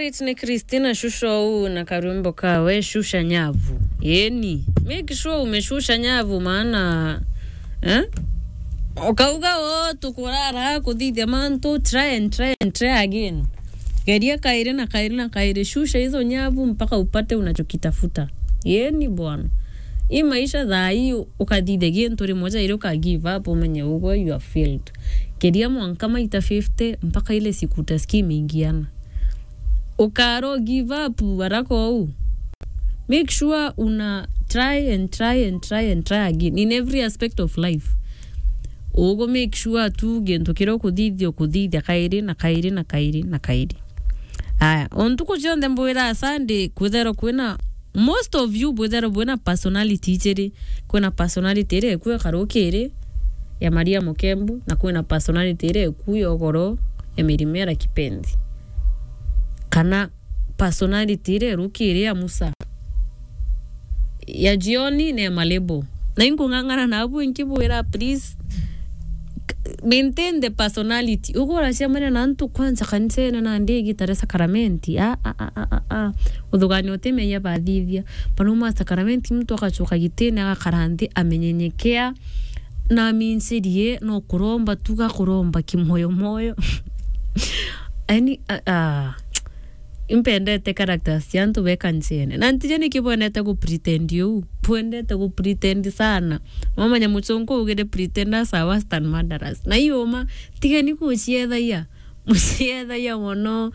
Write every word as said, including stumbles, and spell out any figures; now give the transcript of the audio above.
Ni Christina Shusho uu na karwimbo kawe, Shusha Nyavu. Yeni, make sure umeshusha nyavu, maana, eh? Ukauga, "Oh, tukurara kuthithia mantu," try and try and try again. Geria kairi na kairi na kairi, shusha hizo nyavu mpaka upate unachokitafuta. Yeni bwana. Hii maisha thaa hii, ukathithia gintu rimwe jairi uka give up, umenye ugwe you have failed. Geria mwanka maita fifty mpaka ile siku utasikia imeingiana. Ukaro give up haraka uu. Make sure una try and try and try and try again in every aspect of life. Ugu make sure tu gintu kiria ukuthithia, ukuthithia kairi na kairi na kairi na kairi. Aya, o ntuku cionthe mbwira Sunday, kwithirwa kwina, most of you bwithirwa bwina personality ijiri. Kwina personality iria iku ya karukiri ya Maria Mukembu, na kwina personality iria iku ya ugoro ya Mary Mera Kipenzi. Kana personality iria irukiri ya Musa, ya jioni na ya malebo. Na inkung'ang'ana nabu inkibwira, please, maintain the personality. Ugu uracemania na antu kwanza kanisene na ndigi tare sakramenti. A, a, a, a, a, a. Uthugania utimenya bathithia. Banauma sakramenti, muntu agacoka gitine, agakara nthi, amenyenyekea, na amincirie no kuromba tu, gakuromba kimoyo moyo. Yaani, a, a, impendete characters cia antu be kanisene. Na ntije niki bwendete ku pretend uu. Bwendete ku pretend sana. Wamanya muchunku ugire pretenders are worse than murderers. Na iyo uma, tigeni kuciethagia. Muciethagia mono.